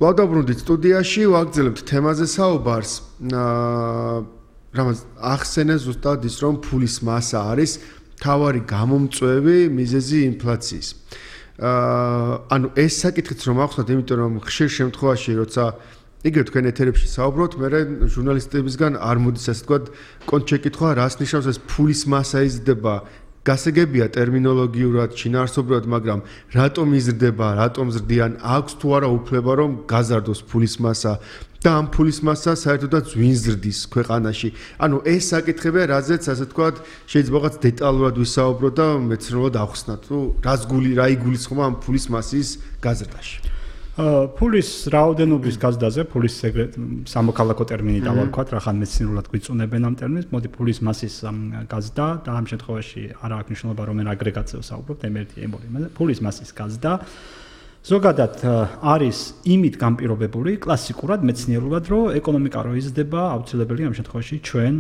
კვლავ დაბრუნდით სტუდიაში, ვაგრძელებთ თემაზე საუბარს. რამაც ახსენე ზუსტად ის, რომ ფულის მასა არის თავარი გამომწვევი მიზეზი ინფლაციის. ანუ ეს საკითხიც რომ ახსნათ, იმიტომ რომ ხშირ შემთხვევაში, როცა იგივე თქვენ ეთერებში საუბრობთ, მე ჟურნალისტებისგან არ მოდის ასე ვთქვათ, კონტ შეკითხვა, რას ნიშნავს ეს ფულის მასა იზრდება. გასაგებია ტერმინოლოგიურად, შინაარსობრივად, მაგრამ რატომ იზრდება, რატომ ზრდიან, აქვს თუ არა უფლება რომ გაზარდოს ფულის მასა და ამ ფულის მასა საერთოდაც ვინ ზრდის ქვეყანაში. ანუ ეს საკითხებია, რაზეც ასე ვთქვათ, შეიძლება რაღაც დეტალურად ვისაუბროთ და მეცნიერულად ავხსნათ, თუ რა იგულისხმება ამ ფულის მასის გაზრდაში. ფულის რაოდენობის გაზრდაზე, ფულის სამოქალაქო ტერმინი დავარქვათ, რახან მეცნიერულად გვიწუნებენ ამ ტერმინს, მოდი ფულის მასის გაზრდა და ამ შემთხვევაში არა აქვს მნიშვნელობა, რომ მე აგრეგატზე ვსაუბრობ, M1, M2, ფულის მასის გაზრდა ზოგადად არის იმით განპირობებული კლასიკურად მეცნიერულად, რომ ეკონომიკა რო იზრდება, აუცილებელია ამ შემთხვევაში ჩვენ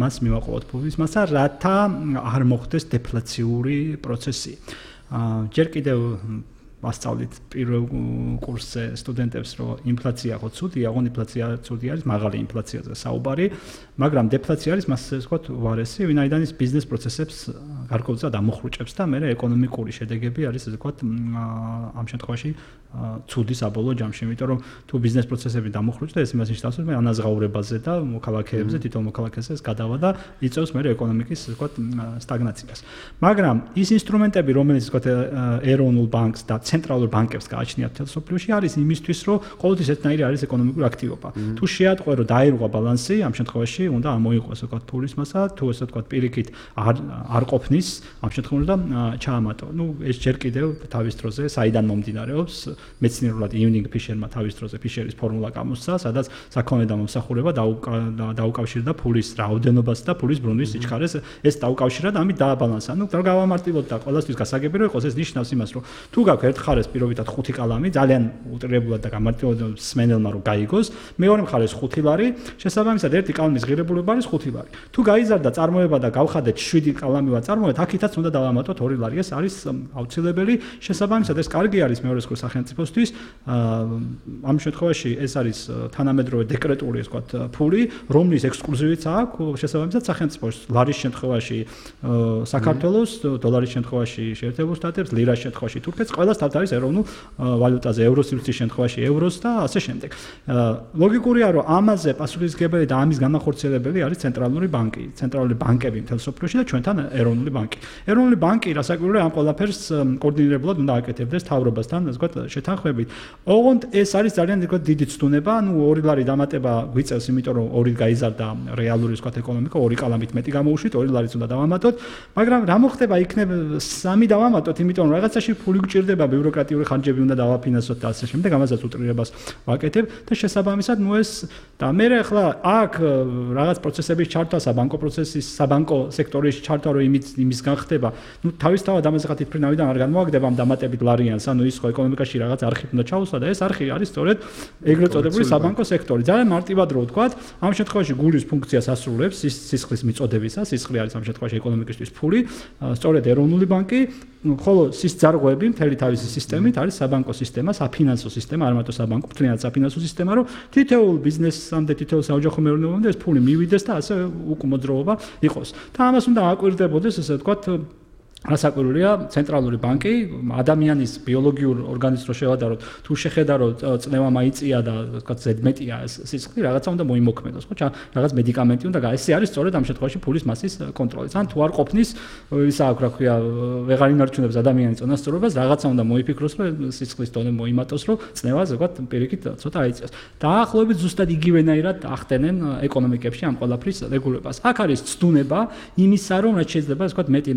მას მივაყოლოთ ფულის მასა, რათა არ მოხდეს დეფლაციური პროცესი. ჯერ კიდევ ასწავლით პირველ კურსზე სტუდენტებს, რომ ინფლაცია ხო ცუდია, აღონ ინფლაცია ცუდი არის, მაღალი ინფლაციაზე საუბარი, მაგრამ დეფლაცია არის მასზე ვთქვათ უარესი, ვინაიდან ის ბიზნეს პროცესებს გარკვეულწილად ამოხრუჭებს და მე ეკონომიკური შედეგები არის ასე ვთქვათ ამ შემთხვევაში ცუდი საბოლოო ჯამში, იმიტომ რომ თუ ბიზნეს პროცესები დამოხრუჭდა, ეს იმას ნიშნავს, რომ ანაზღაურებაზე და მოქალაქეებზე, თითოეულ მოქალაქეზე ეს გადავა და იწევს მე ეკონომიკის ასე ვთქვათ სტაგნაციას. მაგრამ ის ინსტრუმენტები, რომელიც ვთქვათ ეროვნულ ბანკს და ცენტრალურ ბანკებს გააჩნიათ მთელ სოფლიოში, არის იმისთვის, რომ ყოველთვის ერთნაირი არის ეკონომიკური აქტივობა. თუ შეატყვე, რომ დაერღვა ბალანსი, ამ შემთხვევაში უნდა ამოიყვეს ვთქვათ ფულის მასა, თუ ესე ვთქვათ პირიქით არ ყოფნის, ამ შემთხვევაში და ჩაამატო. ნუ ეს ჯერ კიდევ თავის დროზე საიდან მომდინარეობს, მეცნიერულად იუნინგ ფიშერმა თავის დროზე ფიშერის ფორმულა გამოსცა, სადაც საქონელი და მომსახურება დაუკავშირდა ფულის რაოდენობას და ფულის ბრუნვის სიჩქარეს, ეს დაუკავშირა და ამით დააბალანსა. ნუ რა გავამარტივოთ და ყველასთვის გასაგები რომ იყოს, ეს ნიშნავს იმას, რომ თუ გაქვს ერთ მხარეს პირობითად 5 კალამი, ძალიან უტრიებულად და გამარტივებულად სმენელმა რომ გაიგოს, მეორე მხარეს 5 ლარი, შესაბამისად ერთი კალამის ღირებულება არის 5 ლარი. თუ გაიზარდა წარმოება და გავხადეთ 7 კალამი ვაწარმოეთ, აქითაც უნდა დავამატოთ 2 ლარი. ეს არის აუცილებელი. შესაბამისად ეს კარგი არის მეორე სკოლის სახელმწიფოსთვის. ამ შემთხვევაში ეს არის თანამედროვე დეკრეტული ასე ვთქვათ ფული, რომლის ექსკლუზივიც აქვს შესაბამისად სახელმწიფოს ლარის შემთხვევაში საქართველოს, დოლარის შემთხვევაში შეერთებულ შტატებს, ლირას შემთხვევაში თურქეთს, ყველას თავთავის ეროვნულ ვალუტაზე, ევროსივრცის შემთხვევაში ევროს და ასე შემდეგ. ლოგიკურია, რომ ამაზე პასუხისმგებელი და ამის განახორციელებელი არის ცენტრალური ბანკი, ცენტრალური ბანკები მთელ სოფლიოში და ჩვენთან ეროვნული ბანკი. ეროვნული ბანკი რასაკვირველია ამ ყველაფერს კოორდინირებულად უნდა აკეთებდეს თავრობასთან, ასე ვთქვათ, შეთანხმებით. ოღონდ ეს არის ძალიან ასე ვთქვათ დიდი ცდუნება, ანუ 2 ლარი დამატება გვიწევს, იმიტომ რომ 2 გაიზარდა რეალური ასე ვთქვათ ეკონომიკა, 2 კალამით მეტი გამოვუშვით, 2 ლარიც უნდა დავამატოთ, მაგრამ რა მოხდება იქნებ 3 დავამატოთ, იმიტომ რომ რაღაცაში ფული გჭირდება, ბიუროკრატიული ხარჯები უნდა დავაფინანსოთ და ასე შემდეგ, ამასაც უტრირებას ვაკეთებ და შესაბამისად, ნუ ეს და მე ახლა აქ რაღაც პროცესების ჩართვა, საბანკო პროცესის, საბანკო სექტორის ჩართვა რო იმის განხდება, ნუ თავისთავად ამაზე ხათი ფრინავიდან არ განმოაგდება ამ დამატებით ლარიანს, ანუ ის ხო ეკონომიკაში რაღაც არხი უნდა ჩაუსვა და ეს არხი არის სწორედ ეგრეთ წოდებული საბანკო სექტორი. ძალიან მარტივად რო ვთქვათ, ამ შემთხვევაში გულის ფუნქციას ასრულებს სისხლის მიწოდებისას, სისხლი არის ამ შემთხვევაში ეკონომიკისთვის ფული, სწორედ ეროვნული ბანკი, ხოლო სისძარღვები მთელი თავისი სისტემით არის საბანკო სისტემა, საფინანსო სისტემა, არ მარტო საბანკო, მთლიანად საფინანსო სისტემა, რომ თითოეულ ბიზნესამდე, თითოეულ საოჯახო მეურნეობამდე ეს ფული მივიდეს და ასე უკმოძრაობა იყოს. და ამას უნდა აკვირდებოდეს, ესე ვთქვათ, რასაკვირველია, ცენტრალური ბანკი ადამიანის ბიოლოგიურ ორგანიზმს რო შევადაროთ, თუ შეხედაროთ წნევა მაიწია და ვთქვათ ზედმეტია სისხლი, რაღაცა უნდა მოიმოქმედოს, ხო? რაღაც მედიკამენტი უნდა ეს არის სწორედ ამ შემთხვევაში ფულის მასის კონტროლიც. ან თუ არ ყოფნის, ისა აქვს რა ქვია, ვეღარ ინარჩუნებს ადამიანის წონასწორობას, რაღაცა უნდა მოიფიქროს, რომ სისხლის დონე მოიმატოს, რომ წნევა ზოგადად პირიქით ცოტა აიწიოს. დაახლოებით ზუსტად იგივენაირად ახდენენ ეკონომიკებში ამ ყველაფრის რეგულებას. აქ არის ცდუნება იმისა, რომ რაც შეიძლება ასე ვთქვათ მეტი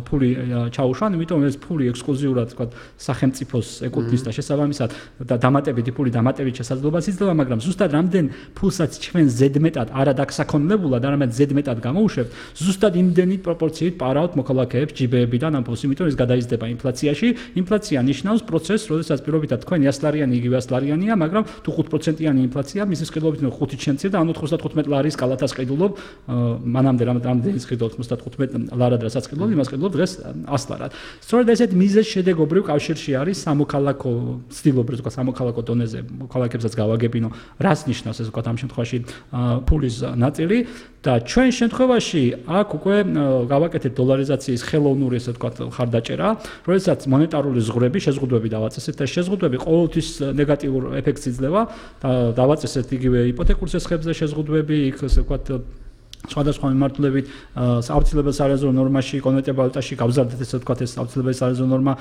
ფული ჩაუშვან, იმიტომ ეს ფული ექსკლუზიურად ვთქვათ სახელმწიფოს ეკუთვნის და შესაბამისად და დამატებითი ფული დამატებით შესაძლებლობას იძლევა, მაგრამ ზუსტად რამდენ ფულსაც ჩვენ ზედმეტად არა დაგსაქონლებულად, არამედ ზედმეტად გამოუშვებთ, ზუსტად იმდენი პროპორციით პარავთ მოქალაქეებს ჯიბეებიდან ამ ფულს, იმიტომ ეს გადაიზრდება ინფლაციაში. ინფლაცია ნიშნავს პროცესს, როდესაც პირობითად თქვენი 100 ლარიანი იგივე 100 ლარიანია, მაგრამ თუ 5%-იანი ინფლაცია, მისის ყიდულობით 5-ით შემცირ და ანუ 95 ლარის კალათას ყიდულობ, მანამდე რამდენი ყიდულობ 95 ლარად რასაც ყიდულობ, იმას ყიდულობ დღეს ასლარად. სწორედ ესეთ მიზეზ შედეგობრივ კავშირში არის სამოქალაქო ცდილობრივ ვთქვათ სამოქალაქო დონეზე მოქალაქეებსაც გავაგებინო რას ნიშნავს ეს ვთქვათ ამ შემთხვევაში ფულის ნაწილი და ჩვენ შემთხვევაში აქ უკვე გავაკეთეთ დოლარიზაციის ხელოვნური ესე ვთქვათ ხარდაჭერა, როდესაც მონეტარული ზღვრები, შეზღუდვები დავაწესეთ და შეზღუდვები ყოველთვის ნეგატიურ ეფექტს იძლევა და დავაწესეთ იგივე იპოთეკურ სესხებზე შეზღუდვები, იქ ესე ვთქვათ სხვადასხვა მიმართულებით აუცილებელ სარეზერვო ნორმაში კონვერტირებულ ვალუტაში გავზარდეთ ესე ვთქვათ ეს აუცილებელ სარეზერვო ნორმა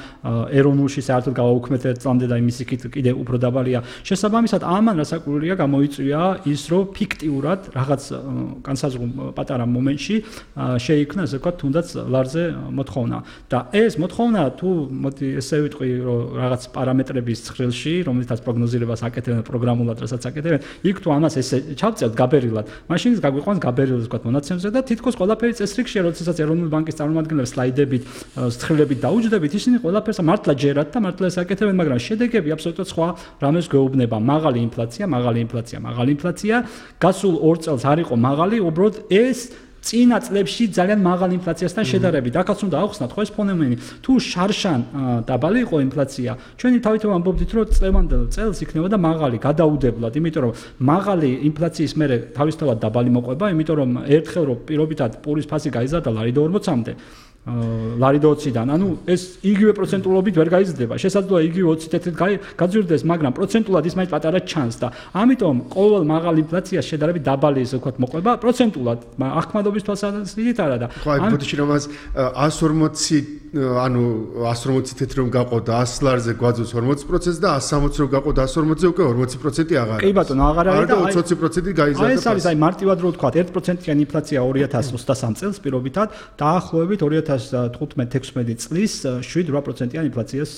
ეროვნულში საერთოდ გავაუქმეთ წამდე და იმის იქით კიდე უფრო დაბალია. შესაბამისად ამან რასაკვირველია გამოიწვია ის რომ ფიქტიურად რაღაც განსაზღვრულ პატარა მომენტში შეიქმნა ესე ვთქვათ თუნდაც ლარზე მოთხოვნა და ეს მოთხოვნა თუ მოდი ესე ვიტყვი რომ რაღაც პარამეტრების ცხრილში რომელთაც პროგნოზირებას აკეთებენ პროგრამულად რასაც აკეთებენ იქ თუ ამას ესე ჩავწერთ გაბერილად მაშინ გაგვიყვანს გაბერილად ვთქვათ მონაცემზე და თითქოს ყველაფერი წესრიგშია როდესაც ეროვნული ბანკის წარმომადგენლებს სლაიდებით ცხრილებით დაუჯდებით ისინი ყველაფერს მართლა ჯერათ და მართლა ეს აკეთებენ მაგრამ შედეგები აბსოლუტურად სხვა რამეს გვეუბნება მაღალი ინფლაცია გასულ 2 წელს არ იყო მაღალი უბრალოდ ეს წინა წლებში ძალიან მაღალი ინფლაციასთან შედარებით. აქაც უნდა ავხსნათ ხო ეს ფენომენი. თუ შარშან დაბალი იყო ინფლაცია, ჩვენი თავითვე ამბობდით რომ წლევანდელ წელს იქნებოდა მაღალი, გადაუდებლად, იმიტომ რომ მაღალი ინფლაციის მერე თავისთავად დაბალი მოყვება, იმიტომ რომ ერთხელ რომ პირობითად პურის ფასი გაიზარდა ლარი და 40-მდე. ლარი და 20-დან, ანუ ეს იგივე პროცენტულობით ვერ გაიზრდება. შესაძლოა იგივე 20 თეთრით გაძვირდეს, მაგრამ პროცენტულად ის მაინც პატარა ჩანს და ამიტომ ყოველ მაღალ ინფლაციას შედარებით დაბალი ესე ვთქვათ მოყვება პროცენტულად, ახმადობის თვალსაზრისით არა და აი ბოდიში რომ 140 ანუ 140 თეთრი რომ გაყოდა 100 ლარზე გვაძვს 40% და 160 რომ გაყოდა 140-ზე უკვე 40% აღარ არის. კი ბატონო, აღარ არის და 20% გაიზარდა. აი ეს არის აი მარტივად რო ვთქვათ 1%-იანი ინფლაცია 2023 წელს პირობითად დაახლოებით 2015-16 წლის 7-8%-იანი ინფლაციას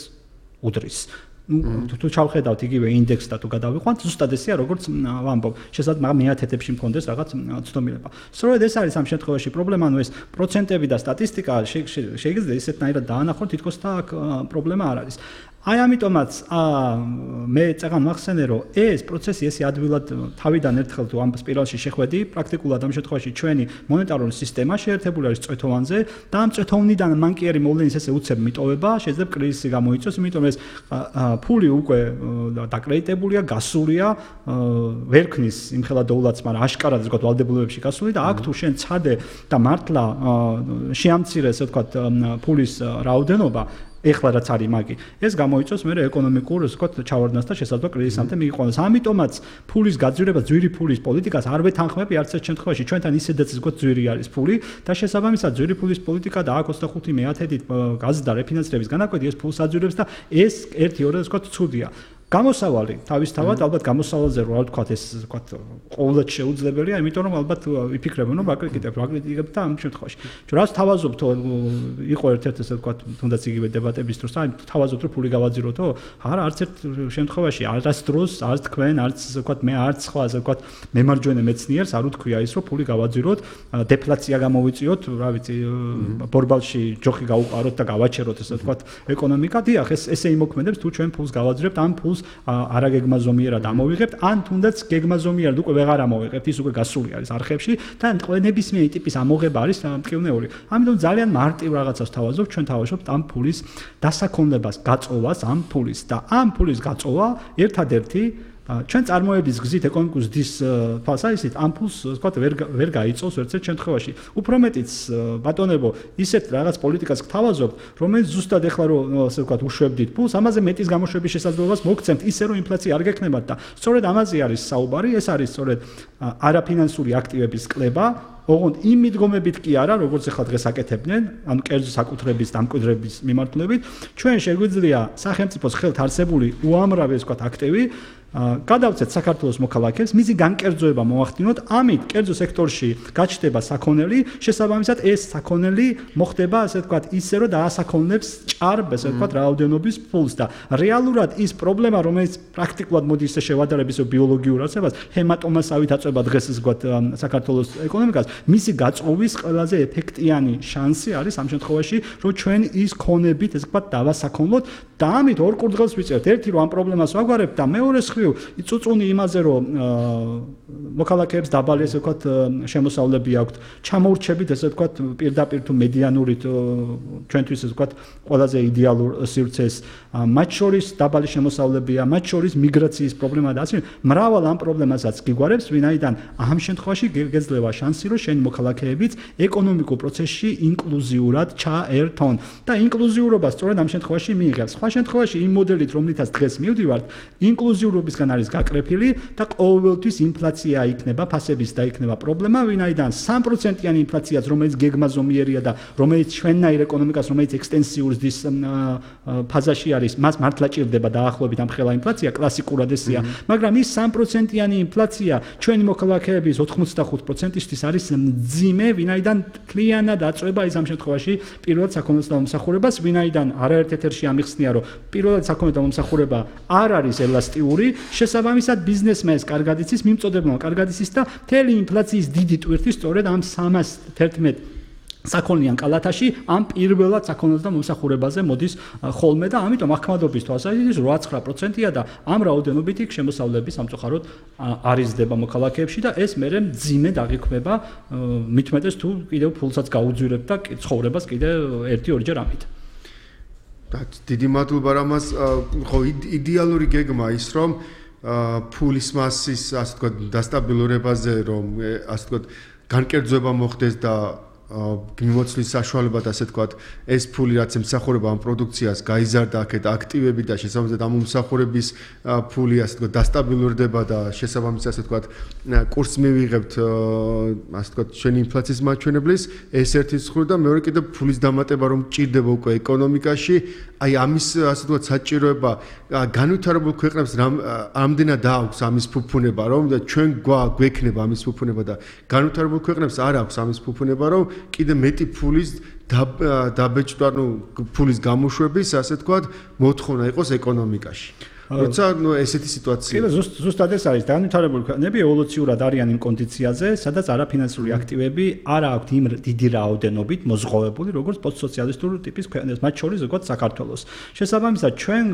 უდრის. თუ ჩავხედავთ იგივე ინდექსს და თუ გადავიყვანთ, ზუსტად ესეა როგორც ვამბობ. შესაძლოა მაგრამ მეათეთებში მქონდეს რაღაც ცდომილება. სწორედ ეს არის ამ შემთხვევაში პრობლემა, ანუ ეს პროცენტები და სტატისტიკა შეიძლება ისეთნაირად დაანახოთ, თითქოს და აქ პრობლემა არ არის. აი ამიტომაც მე წეგან მახსენე რომ ეს პროცესი ესე ადვილად თავიდან ერთხელ თუ ამ სპირალში შეხვედი პრაქტიკულად ამ შემთხვევაში ჩვენი მონეტარული სისტემა შეერთებული არის წვეთოვანზე და ამ წვეთოვნიდან მანკიერი მოვლენის ესე უცებ მიტოვება შეიძლება კრიზისი გამოიწვიოს იმიტომ ეს ფული უკვე დაკრედიტებულია გასულია ვერ ქნის იმხელა დოულაც მაგრამ აშკარად ასე ვთქვათ ვალდებულებებში გასული და აქ თუ შენ ცადე და მართლა შეამცირე ესე ვთქვათ ფულის რაოდენობა ეხლა რაც არის მაგი ეს გამოიწვევს მე ეკონომიკურ ასე ვთქვათ ჩავარდნას და შესაძლოა კრიზისამდე მიიყვანოს ამიტომაც ფულის გაძვირება ძვირი ფულის პოლიტიკას არ ვეთანხმები არც ერთ შემთხვევაში ჩვენთან ისედაც ვთქვათ ძვირი არის ფული და შესაბამისად ძვირი ფულის პოლიტიკა და აქ 25 მეათედით გაზრდა რეფინანსირების განაკვეთი ეს ფულს აძვირებს და ეს 1-2 ვთქვათ ცუდია გამოსავალი თავისთავად ალბათ გამოსავალზე რა ვთქვათ ეს ვთქვათ ყოველდღე შეუძლებელია იმიტომ რომ ალბათ იფიქრებენ რომ ვაკრიტიკებთ და ამ შემთხვევაში ჩვენ რას თავაზობთ იყო ერთ-ერთი ესე ვთქვათ თუნდაც იგივე დებატების დროს აი თავაზობთ რომ ფული გავაძიროთო არა არც ერთ შემთხვევაში არც დროს არც თქვენ არც ესე ვთქვათ მე არც სხვა ესე ვთქვათ მემარჯვენე მეცნიერს არ უთქვია ის რომ ფული გავაძიროთ დეფლაცია გამოვიწიოთ რა ვიცი ბორბალში ჯოხი გავუყაროთ და გავაჩეროთ ესე ვთქვათ ეკონომიკა დიახ ესე იმოქმედებს თუ ჩვენ ფულს გავაძირებთ ამ ფულს არა გეგმაზომიერად ამოვიღებთ ან თუნდაც გეგმაზომიერად უკვე ვეღარ ამოვიღებთ ის უკვე გასული არის არხებში და ნებისმიერი ტიპის ამოღება არის მტკივნეული ამიტომ ძალიან მარტივ რაღაცას თავაზობ ჩვენ თავაზობთ ამ ფულის დასაქონლებას გაწოვას ამ ფულის და ამ ფულის გაწოვა ერთადერთი ჩვენ წარმოების გზით ეკონომიკის ზრდის თვალსაზრისით ამ ფულს ვთქვათ ვერ გაიწოვს ერთ შემთხვევაში უფრო მეტიც ბატონებო ისეთ რაღაც პოლიტიკას გთავაზობთ რომელიც ზუსტად ეხლა რომ ასე ვთქვათ უშვებდით ფულს ამაზე მეტის გამოშვების შესაძლებლობას მოგცემთ ისე რომ ინფლაცია არ გექნებათ და სწორედ ამაზე არის საუბარი ეს არის სწორედ არაფინანსური აქტივების კლება ოღონდ იმ მიდგომებით კი არა როგორც ეხლა დღეს აკეთებდნენ ანუ კერძო საკუთრების დამკვიდრების მიმართულებით ჩვენ შეგვიძლია სახელმწიფოს ხელთ არსებული უამრავი ასე ვთქვათ აქტივი გადავწეთ საქართველოს მოქალაქეებს, მისი განკერძოება მოახდინოთ, ამით კერძო სექტორში გაჩნდება საქონელი, შესაბამისად ეს საქონელი მოხდება, ასე ვთქვათ, ისე რომ დაასაქონლებს ჭარბ, ასე ვთქვათ, რაოდენობის ფულს და რეალურად ის პრობლემა, რომელიც პრაქტიკულად მოდი ისე შევადარებს ბიოლოგიურ არსებას, ჰემატომასავით აწვება დღეს ასე ვთქვათ საქართველოს ეკონომიკას, მისი გაწოვის ყველაზე ეფექტიანი შანსი არის ამ შემთხვევაში, რომ ჩვენ ის ქონებით, ასე ვთქვათ, დავასაქონლოთ და ამით ორ კურდღელს ვიწერთ, ერთი რომ ამ პრობლემას ვაგვარებთ და მეორე იწუწუნი იმაზე რომ მოქალაქეებს დაბალი ესე ვთქვათ შემოსავლები აქვთ. ჩამოურჩებით ესე ვთქვათ პირდაპირ თუ მედიანურით ჩვენთვის ესე ვთქვათ ყველაზე იდეალურ სივრცეს. მათ შორის დაბალი შემოსავლებია, მათ შორის მიგრაციის პრობლემა და ასე მრავალ ამ პრობლემასაც გიგوارებს, ვინაიდან ამ შემთხვევაში გეძლევა შანსი, რომ შენი მოქალაქეებიც ეკონომიკურ პროცესში ინკლუზიურად ჩაერთონ. და ინკლუზიურობა სწორედ ამ შემთხვევაში მიიღებს. სხვა შემთხვევაში იმ მოდელით, რომლითაც დღეს მივდივართ, ინკლუზიურობისგან არის გაკრეფილი და ყოველთვის ინფლაცია იქნება, ფასების და იქნება პრობლემა, ვინაიდან 3%-იანი ინფლაციაც, რომელიც გეგმაზომიერია და რომელიც ჩვენნაირ ეკონომიკას, რომელიც ექსტენსიურ ზრდის ფაზაში არის, მას მართლა ჭირდება დაახლოებით ამ ხელა ინფლაცია, კლასიკურად ესეა, მაგრამ ის 3%-იანი ინფლაცია ჩვენი მოქალაქეების 85%-ისთვის არის მძიმე, ვინაიდან თლიანად აწვება ის ამ შემთხვევაში პირველად საქონელს და მომსახურებას, ვინაიდან არაერთ ეთერში ამიხსნია, რომ პირველად საქონელი და მომსახურება არ არის ელასტიური, შესაბამისად ბიზნესმენს კარგად იცის, მიმწოდებელმა კარგად იცის და მთელი ინფლაციის დიდი ტვირთი სწორედ ამ 311 საქონლიან კალათაში ამ პირველად საქონელს და მომსახურებაზე მოდის ხოლმე და ამიტომ ახმადობის თვალსაზრისით 8-9%-ია და ამ რაოდენობით იქ შემოსავლები სამწუხაროდ არიზდება მოქალაქეებში და ეს მერე მძიმე დაგიქმება მithumetes თუ კიდევ ფულსაც გაუძვირებ და ცხოვრებას კიდევ 1-2 ჯერ ამით. დიდი მადლობა რამას ხო იდეალური გეგმა ის რომ ფულის მასის ასე ვთქვათ დასტაბილურებაზე რომ ასე ვთქვათ განკერძოება მოხდეს და მიმოცვლის საშუალებად ასე ვთქვათ ეს ფული რაც ემსახურება ამ პროდუქციას გაიზარდა აქეთ აქტივები და შესაბამისად ამ მომსახურების ფული ასე ვთქვათ დასტაბილურდება და შესაბამისად ასე ვთქვათ კურსს მივიღებთ ასე ვთქვათ ჩვენი ინფლაციის მაჩვენებლის ეს ერთი მხრივ და მეორე კიდევ ფულის დამატება რომ ჭირდება უკვე ეკონომიკაში აი ამის ასე ვთქვათ საჭიროება განვითარებულ ქვეყნებს ამდენად აქვს ამის ფუფუნება რომ ჩვენ გვექნება ამის ფუფუნება და განვითარებულ ქვეყნებს არ აქვს ამის ფუფუნება რომ კიდე მეტი ფულის დაბეჭდვა, ფულის გამოშვების, ასე ვთქვათ, მოთხოვნა იყოს ეკონომიკაში. როცა ესეთი სიტუაცია. კიდე ზუსტად ეს არის განვითარებული ქვეყნები ევოლუციურად არიან იმ კონდიციაზე, სადაც არაფინანსური აქტივები არ აქვთ იმ დიდი რაოდენობით მოზღოვებული, როგორც პოსტსოციალისტური ტიპის ქვეყნებს, მათ შორის როგორც საქართველოს. შესაბამისად, ჩვენ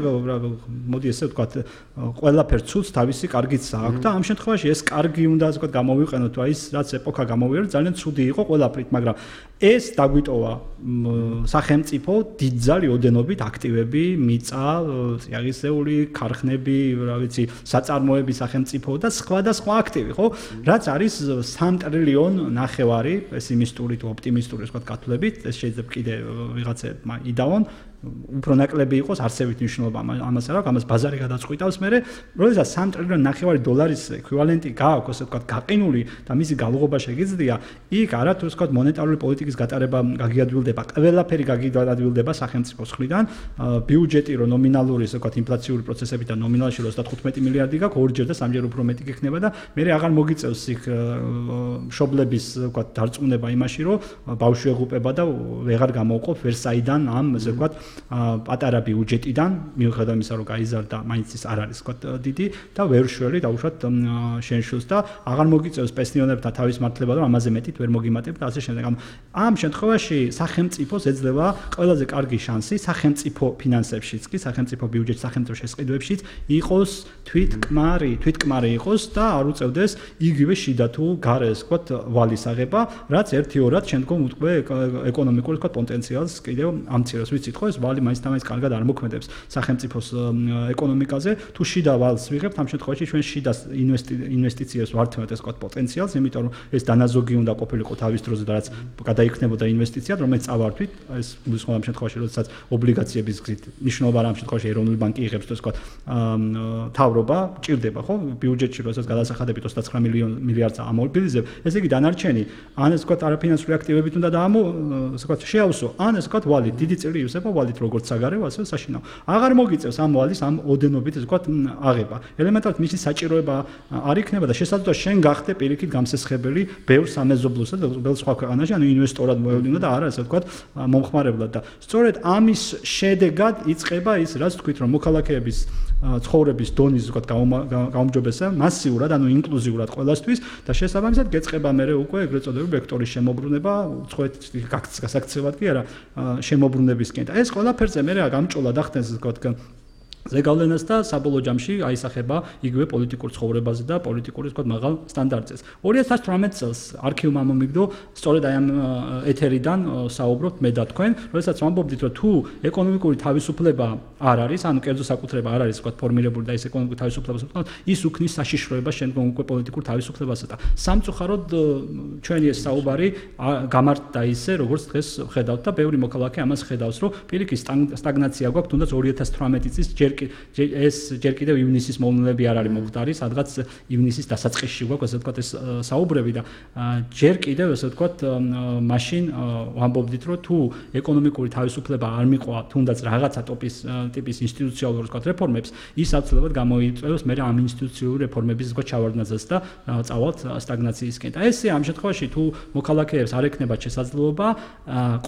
მოდი ესე ვთქვათ, ყველაფერ ცუდს თავისი კარგიც აქვს და ამ შემთხვევაში ეს კარგი უნდა ასე ვთქვათ გამოვიყენოთ, თუ ის რაც ეპოქა გამოვიარეთ, ძალიან ცუდი იყო ყველაფრით, მაგრამ ეს დაგვიტოვა სახელმწიფო დიდძალი ოდენობით აქტივები, მიწა, წიაღისეული ქარხნები, რა ვიცი, საწარმოები სახელმწიფო და სხვა აქტივი, ხო? რაც არის 3 ტრილიონ ნახევარი პესიმისტური თუ ოპტიმისტური ვთქვათ კათოლებით, ეს შეიძლება კიდე ვიღაცებმა იდაონ უფრო ნაკლები იყოს არსებით მნიშვნელობა ამას არ აქვს, ამას ბაზარი გადაწყვიტავს მერე, როდესაც 3 ტრილიონ ნახევარი დოლარის ეკვივალენტი გააქვს, ასე ვთქვათ, გაყინული და მისი გალღობა შეგიძლია, იქ არათუ ვთქვათ მონეტარული პოლიტიკის გატარება გაგიადვილდება, ყველაფერი გაგიადვილდება სახელმწიფოს მხრიდან, ბიუჯეტი რო ნომინალური, ასე ვთქვათ, ინფლაციური პროცესები და ნომინალში 35 მილიარდი გაქვს, ორჯერ და სამჯერ უფრო მეტი გექნება და მერე აღარ მოგიწევს იქ მშობლების, ვთქვათ, დარწმუნება იმაში, რომ ბავშვი ეღუპება და ვეღარ გამოვყოფ ვერსაიდან ამ, ასე ვთქვათ, პატარა ბიუჯეტიდან მიუხედავად იმისა, რომ გაიზარდა, მაინც ის არ არის ვთქვათ დიდი და ვერ შველი დაუშვათ შენშულს და აღარ მოგიწევს პენსიონერებთან თავის მართლება, რომ ამაზე მეტით ვერ მოგიმატებ და ასე შემდეგ. ამ შემთხვევაში სახელმწიფოს ეძლევა ყველაზე კარგი შანსი სახელმწიფო ფინანსებშიც კი, სახელმწიფო ბიუჯეტში, სახელმწიფო შესყიდვებშიც იყოს თვითკმარი იყოს და არ უწევდეს იგივე შიდა თუ გარეს ვთქვათ ვალის აღება, რაც ერთი-ორად შემდგომ უკვე ეკონომიკური ვთქვათ პოტენციალს კიდევ ამცირებს, ვიცით ხო? ეს ვალი მაინც კარგად არ მოქმედებს სახელმწიფოს ეკონომიკაზე. თუ შიდა ვალს ვიღებთ, ამ შემთხვევაში ჩვენ შიდა ინვესტიციებს ვართმევთ ეს ვთქვათ პოტენციალს, იმიტომ რომ ეს დანაზოგი უნდა ყოფილიყო თავის დროზე და რაც გადაიქნებოდა ინვესტიციად, რომელიც წავართვით, ეს გულისხმობ ამ შემთხვევაში, როდესაც ობლიგაციების გზით ნიშნულობა ამ შემთხვევაში ეროვნული ბანკი იღებს, ეს ვთქვათ თავრობა ჭირდება, ხო? ბიუჯეტში როდესაც გადასახადებით 29 მილიარდს ამობილიზებ, ესე იგი დანარჩენი, ან ეს ვთქვათ არაფინანსური აქტივებით უნდა ასე ვთქვათ შეავსო, ან ეს ვთქვათ ვალით დიდი წილი ივსება ვალით როგორც საგარეო, ასევე საშინაო. აღარ მოგიწევს ამ ვალის ამ ოდენობით ეს ვთქვათ აღება. ელემენტარულად მისი საჭიროება არ იქნება და შესაძლოა შენ გახდე პირიქით გამსესხებელი ბევრ სამეზობლოსა და ბევრ სხვა ქვეყანაში, ანუ ინვესტორად მოევლინა და არა ასე ვთქვათ მომხმარებლად და სწორედ ამის შედეგად იწყება ის, რაც თქვით, რომ მოქალაქეების ცხოვრების დონის ვთქვათ გაუმჯობესება მასიურად, ანუ ინკლუზიურად ყველასთვის და შესაბამისად გეწყება მერე უკვე ეგრეთ წოდებული ვექტორის შემოbrunება, უცხოეთის გასაქცევად კი არა შემოbrunებისკენ. და ეს ყველაფერზე მერე გამჭოლა და ხდენს ვთქვათ ზეგავლენას და საბოლოო ჯამში აისახება იგივე პოლიტიკურ ცხოვრებაზე და პოლიტიკური თქვა მაღალ სტანდარტებს. 2018 წელს არქივმა მომიგდო სწორედ აი ამ ეთერიდან საუბრობთ მე და თქვენ, როდესაც ვამბობდით, რომ თუ ეკონომიკური თავისუფლება არ არის, ანუ კერძო საკუთრება არ არის თქვა ფორმირებული და ეს ეკონომიკური თავისუფლებას უყავს, ის უქმნის საშიშროებას შემდგომ უკვე პოლიტიკურ თავისუფლებასა და სამწუხაროდ ჩვენი ეს საუბარი გამართდა ისე, როგორც დღეს ხედავთ და ბევრი მოქალაქე ამას ხედავს, რომ პირიქით სტაგნაცია გვაქვს, თუნდაც 2018 წლის ჯერ კიდევ ივნისის მოვლენები არ არის მომხდარი, სადღაც ივნისის დასაწყისში გვაქვს ასე ვთქვათ ეს საუბრები და ჯერ კიდევ ასე ვთქვათ მაშინ ვამბობდით, რომ თუ ეკონომიკური თავისუფლება არ მიყვა თუნდაც რაღაცა ტიპის ინსტიტუციონალურ ვთქვათ რეფორმებს, ის აუცილებლად გამოიწვევს მე ამ ინსტიტუციური რეფორმების ვთქვათ ჩავარდნაზეც და წავალთ სტაგნაციისკენ. და ესე ამ შემთხვევაში თუ მოქალაქეებს არ ექნებათ შესაძლებლობა,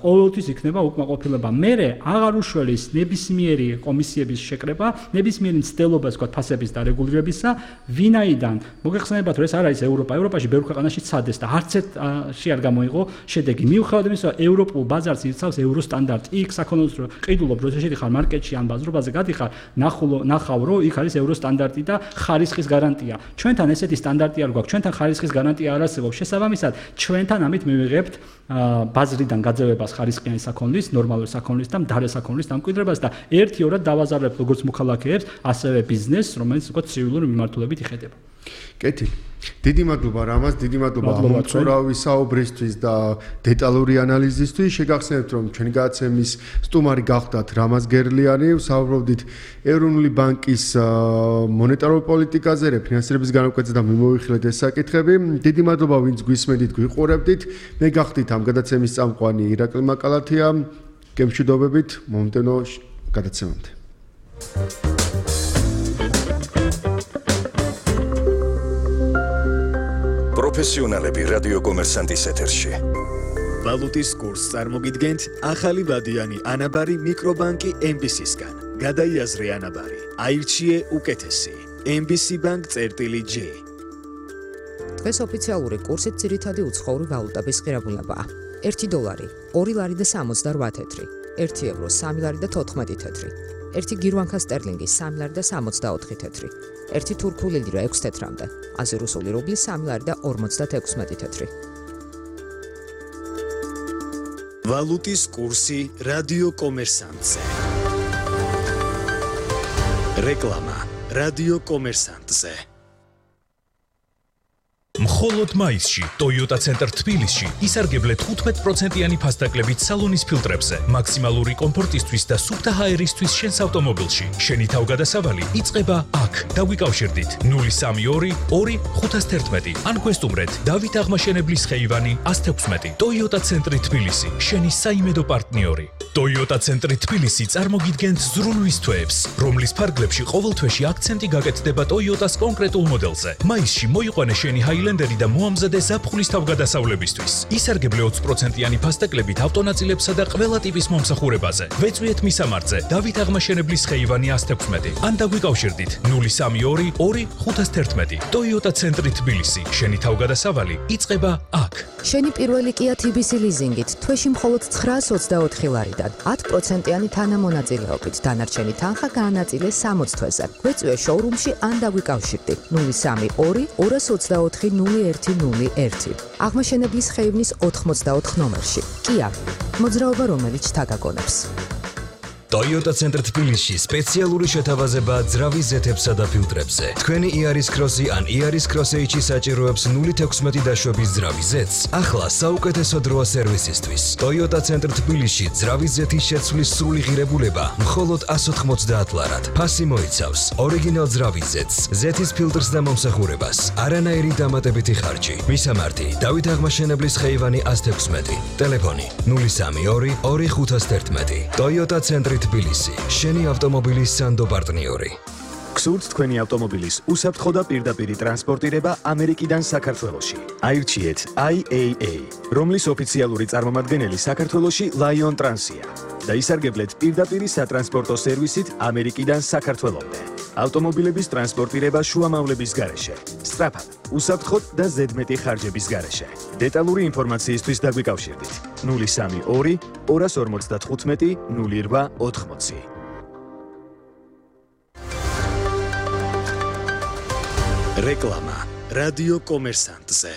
ყოველთვის იქნება უკმაყოფილება. მე აღარ უშველის ნებისმიერი კომისიების შეკრება, ნებისმიერი მცდელობა ვთქვათ ფასების დარეგულირებისა, ვინაიდან მოგეხსენებათ, რომ ეს არ არის ევროპა. ევროპაში ბევრ ქვეყანაში ცადეს და არც ერთში არ გამოიღო შედეგი. მიუხედავად იმისა, რომ ევროპულ ბაზარს იცავს ევროსტანდარტი, იქ საქონელს ყიდულობ, როცა შედიხარ მარკეტში ან ბაზრობაზე გადიხარ, ნახავ, რომ იქ არის ევროსტანდარტი და ხარისხის გარანტია. ჩვენთან ესეთი სტანდარტი არ გვაქვს, ჩვენთან ხარისხის გარანტია არ არსებობს. შესაბამისად, ჩვენთან ამით მივიღებთ ბაზრიდან გაძევებას ხარისხიანი საქონლის, ნორმალური საქონლის და მდარე საქონლის დამკვიდრებას და ერთ-ორად დავაზარებთ როგორც მოქალაქეებს, ასევე ბიზნესს, რომელიც უკვე ცივილური მიმართულებით იხედება. კეთილი. დიდი მადლობა რამაზ, დიდი მადლობა ამოწურავი საუბრისთვის და დეტალური ანალიზისთვის. შეგახსენებთ, რომ ჩვენი გადაცემის სტუმარი გახდათ რამაზ გერლიანი, ვსაუბრობდით ეროვნული ბანკის მონეტარული პოლიტიკაზე, რეფინანსირების განაკვეთზე და მიმოვიხილეთ ეს საკითხები. დიდი მადლობა, ვინც გვისმენთ, გვიყურებდით. მე გახდით ამ გადაცემის წამყვანი ირაკლი მაკალათია. გემშვიდობებით მომდენო გადაცემამდე. პროფესიონალები რადიო კომერსანტის ეთერში. ვალუტის კურსს წარმოგიდგენთ ახალი ვადიანი ანაბარი მიკრობანკი MBC-სგან. გადაიაზრე ანაბარი, აირჩიე უკეთესი. MBC Bank-J. დღეს ოფიციალური კურსით ძირითადი უცხოური ვალუტების ღირებულებაა. 1 დოლარი 2 ლარი და 68 თეთრი, 1 ევრო 3 ლარი და 14 თეთრი, 1 გირვანქა სტერლინგი 3 ლარი და 64 თეთრი, 1 თურქული ლირა 6 თეთრამდე, 100 რუსული რუბლი 3 ლარი და 56 თეთრი. ვალუტის კურსი რადიო კომერსანტზე. რეკლამა რადიო კომერსანტზე. მხოლოდ მაისში Toyota Center თბილისში ისარგებლეთ 15%-იანი ფასდაკლებით სალონის ფილტრებზე, მაქსიმალური კომფორტისთვის და სუფთა ჰაერისთვის შენს ავტომობილში. შენი თავგადასავალი იწყება აქ. დაგვიკავშირდით 032 2511 ან გვესტუმრეთ დავით აღმაშენებლის ხეივანი 116. Toyota Center თბილისი, შენი საიმედო პარტნიორი. Toyota Center თბილისი წარმოგიდგენთ ზრუნვის თვეებს, რომლის ფარგლებში ყოველ თვეში აქცენტი გაკეთდება Toyota-ს კონკრეტულ მოდელზე. მაისში მოიყვანე შენი ჰაილენდერი და მოამზადე ზაფხულის თავგადასავლებისთვის. ისარგებლე 20%-იანი ფასდაკლებით ავტონაწილებსა და ყველა ტიპის მომსახურებაზე. ვეწვიეთ მისამართზე დავით აღმაშენებლის ხეივანი 116 ან დაგვიკავშირდით 032 2511. Toyota Center თბილისი, შენი თავგადასავალი იწყება აქ. შენი პირველი Kia TBC ლიზინგით თვეში მხოლოდ 924 ლარიდან 10%-იანი თანამონაწილეობით დანარჩენი თანხა გაანაწილე 60 თვეზე. გვეწვიე შოურუმში ან დაგვიკავშირდი 032 224 0101. აღმაშენებლის ხეივნის 84 ნომერში. Kia, მოძრაობა რომელიც თაგაგონებს. Toyota Center თბილისში სპეციალური შეთავაზებაა ძრავის ზეთებსა და ფილტრებზე. თქვენი Iaris Cross-ი ან Iaris Cross-H-ი საჭიროებს 0.16 დაშვების ძრავის ზეთს. ახლა საუკეთესო დროა სერვისისთვის. Toyota Center თბილისში ძრავის ზეთის შეცვლის სრული ღირებულება მხოლოდ 190 ლარად. ფასი მოიცავს ორიგინალ ძრავის ზეთს, ზეთის ფილტრს და მომსახურებას. არანაირი დამატებითი ხარჯი. მისამართი: დავით აღმაშენებლის ხეივანი 116. ტელეფონი 032 2511. Toyota Center თბილისი, შენი ავტომობილის სანდო პარტნიორი. გსურთ თქვენი ავტომობილის უსაფრთხო და პირდაპირი ტრანსპორტირება ამერიკიდან საქართველოში. აირჩიეთ IAA, რომლის ოფიციალური წარმომადგენელი საქართველოში Lion Trans-ია და ისარგებლეთ პირდაპირი სატრანსპორტო სერვისით ამერიკიდან საქართველომდე. ავტომობილების ტრანსპორტირება შუამავლების გარეშე, სწრაფად, უსაფრთხოდ და ზედმეტი ხარჯების გარეშე. დეტალური ინფორმაციისთვის დაგვიკავშირდით 032 255 0880. რეკლამა რადიო კომერსანტზე.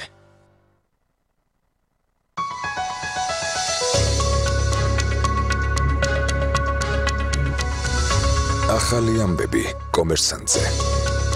ახალი ამბები კომერსანტზე.